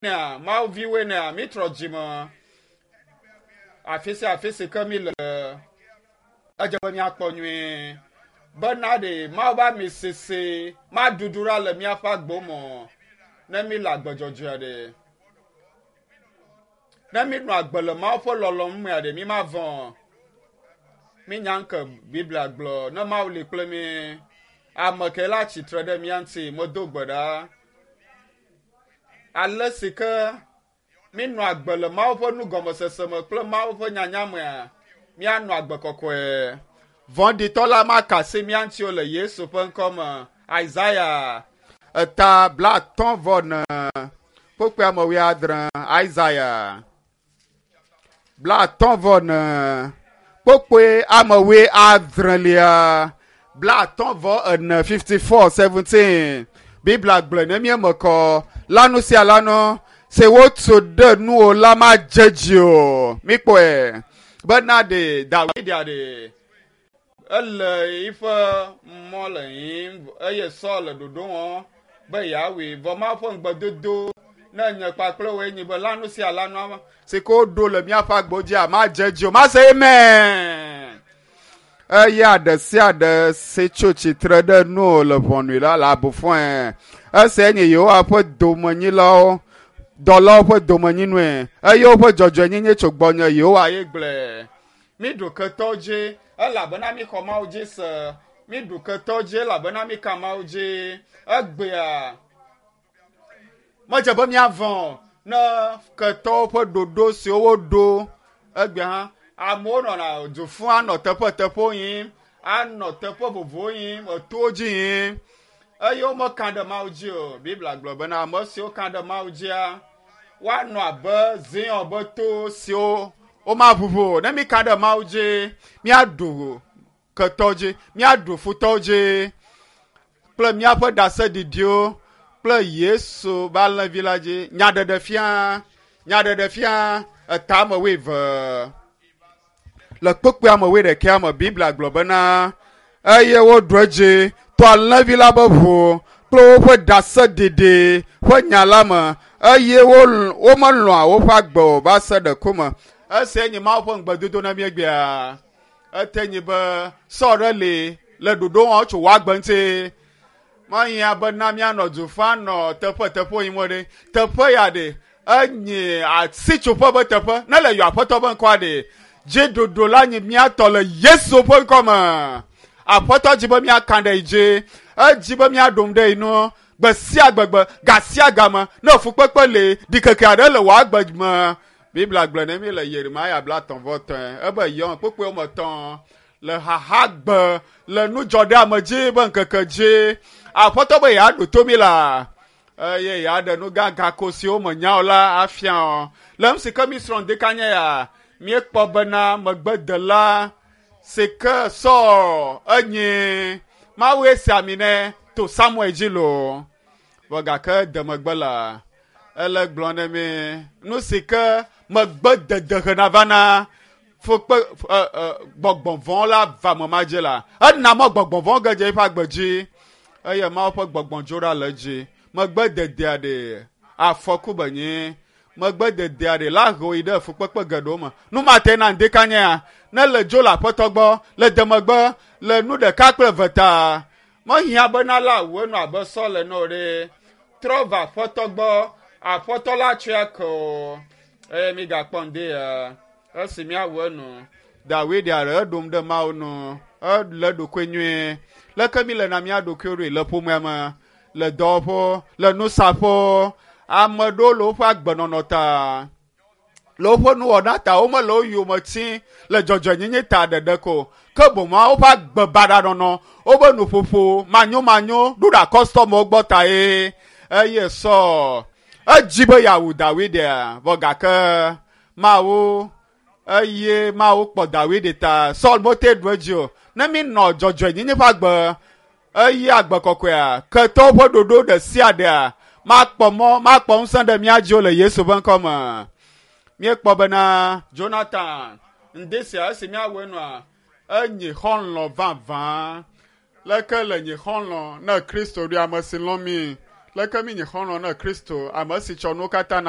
Nea Mawu viwoe nea mítrɔ dzime afi sia afi si ke mí le edze be míakpɔ nyuie bena ɖe Mawu be ami sese maɖuɖu ɖa le míaƒe agbo me o ne mí le agbe dzɔdzɔea ɖe. Ne mí nɔ agbe le Mawu ƒe lɔlɔ̃nu mea ɖe mí mavɔ̃ o. Mínya ŋke Biblia gblɔ ne Mawu li kple mí ame ke la tsitre ɖe mía ŋuti medo gbe ɖa. Ale si ke mínɔ agbe le Mawu ƒe nugɔmesese me kple Mawu ƒe nyanya mea, míanɔ agbe kɔkɔe. Vɔ̃ɖitɔ la maka asi mía ŋuti o le Yesu ƒe ŋkɔ me. Isaya eta 55 kpukpui ame 70. Isaya 54 kpukpui ame 70lia. 54 54 17. Biblia gblɔe ne míeme kɔ lanu sia lanu si wotu ɖe nuwò la madze dzi o. Míkpɔe bena ɖe Dawid ɖe ele yiƒe mɔ le yiyim eye Saul le ɖoɖo wɔm be yeawui. Vɔ Mawu ƒe ŋugbedodo ne nye kpakple wòe nyi be lanu sia lanu si ke woɖo le míaƒe agbo dzia madze dzi o. Mase amen. Eya ɖe sia ɖe si tso tsitre ɖe nuwò le ʋɔnui la le abu fɔe. Esia nye Yehowa ƒe domenyilawo dɔlawo ƒe domenyinue eye woƒe dzɔdzɔenyenye tso gbɔnye Yehowa ye gblɔe. Míɖu ketɔ dzi elabena míxɔ Mawu dzi se. Míɖu ketɔ dzi elabena míka Mawu dzi. Egbea medze be míavɔ̃ ne ketɔwo ƒe ɖoɖo siwo woɖo egbea hã amewo nɔna du fũ anɔ teƒeteƒewo yim anɔ teƒe vovovowo yim etowo dzi yim eye womeka ɖe Mawu dzi o. Biblia gblɔ bena ame siwo ka ɖe Mawu dzia woanɔ abe Zion be to siwo womaʋuʋu o. Ne míka ɖe Mawu dzi míaɖu ketɔ dzi, míaɖu futɔwo dzi kple míaƒe ɖaseɖiɖiwo kple Yesu be alẽvi la dzi. Nyaɖeɖefia, nyaɖeɖefia eta ame wuieve. Le kpukpui ame wuiɖekɛa me Biblia gblɔ bena eye woɖu edzi to alẽvi la be ʋu kple woƒe ɖaseɖiɖi ƒe nya la me eye womelɔ̃a woƒe agbe o va se ɖe ku me. Esia nye Mawu ƒe ŋugbedodo na mí egbea. Ete nyi be Saul ɖe li le ɖoɖo wɔm tso wò agbe ŋuti. Mehiã be na míanɔ du ƒu anɔ teƒe teƒewo yim o ɖe. Teƒe ya ɖe enye asitsoƒe be teƒe. Ne le yɔ Aƒetɔ be ŋkɔa ɖe, dziɖuɖu la nyi mía tɔ le Yesu ƒe ŋkɔ me. Aƒetɔ dzi be míaka ɖe yi dzi. Edzi be míaɖom ɖe yi nu gbe sia gbegbe, ga sia game. Ne fukpekpe li, ɖikeke aɖe le wò agbe me. Biblia gblɔ ne mí le Yeremaya 33 ebe yɔ kpukpui woame etɔ̃ le xaxagbe le nudzɔɖeamedzi be ŋkeke dzi. Aƒetɔ be yeaɖo to mí la eye yeaɖe nu gãgã ko siwo menya o la afia o. Le nu si ke mísrɔ̃ ŋdeka nye ya, míekpɔ bena megbedela si ke Saul enyi Mawue si ami nɛ to Samuel dzi loo. Vɔ gake de megbe la, ele gblɔ ne mi nu si ke megbedede hena vana fukpe gbɔgbɔ vɔ̃ la va me ma dzi la, ena mɔ gbɔgbɔ vɔ̃ ge dze eƒe agbe dzi eye Mawu ƒe gbɔgbɔ dzo ɖa le edzi. Megbededea ɖe afɔku be nyi. Megbededea ɖe la ho yi ɖe fukpekpe geɖewo me. Nu ma te na ŋdeka nyea, ne le dzo le Aƒetɔ gbɔ, le demegbe, le nu ɖeka kple eve ta. Mehiã bena la wu enu abe Saul ene o ɖe. Trɔ va Aƒetɔ gbɔ, Aƒetɔ la tsɔe ake o. Eye mígakpɔ ŋdi ya, esi míawu enu. Dawid aɖe eɖom ɖe Mawu nu, ele ɖokui nyuie. Leke míle na mía ɖokuiwo ɖoe le ƒomea me, le dɔwɔƒewo, le nusaƒewo, ame ɖewo le woƒe agbenɔnɔ ta, le woƒe nuwɔna ta, womele wo yome tim le dzɔdzɔenyenye ta ɖeɖe ko, ke boŋ woƒe agbe baɖa nɔnɔ, woƒe nuƒoƒo manyomanyo ɖo ɖe kɔstɔmɔwo gbɔ ta ye. Eye Saul edzi be yeawu Dawid vɔ gake Mawu eye Mawu kpɔ Dawid ta. Saul mete ɖu edzi o. Ne míenɔ dzɔdzɔenyenye ƒe agbe eye agbe kɔkɔea, ketɔwo ƒe ɖoɖo ɖe sia ɖea makpɔ mɔ, makpɔ ŋusẽ ɖe mía dzi o le Yesu ƒe ŋkɔ me. Míekpɔ bena Jonathan ŋdi sia esi míawɔe nua, enyi xɔlɔ̃ vavã. Leke le nyi xɔlɔ̃ ne Kristo ɖoe ame si lɔ̃ mí? Leke mí nyi xɔlɔ̃ ne Kristo, ame si tsɔ nuwo katã na?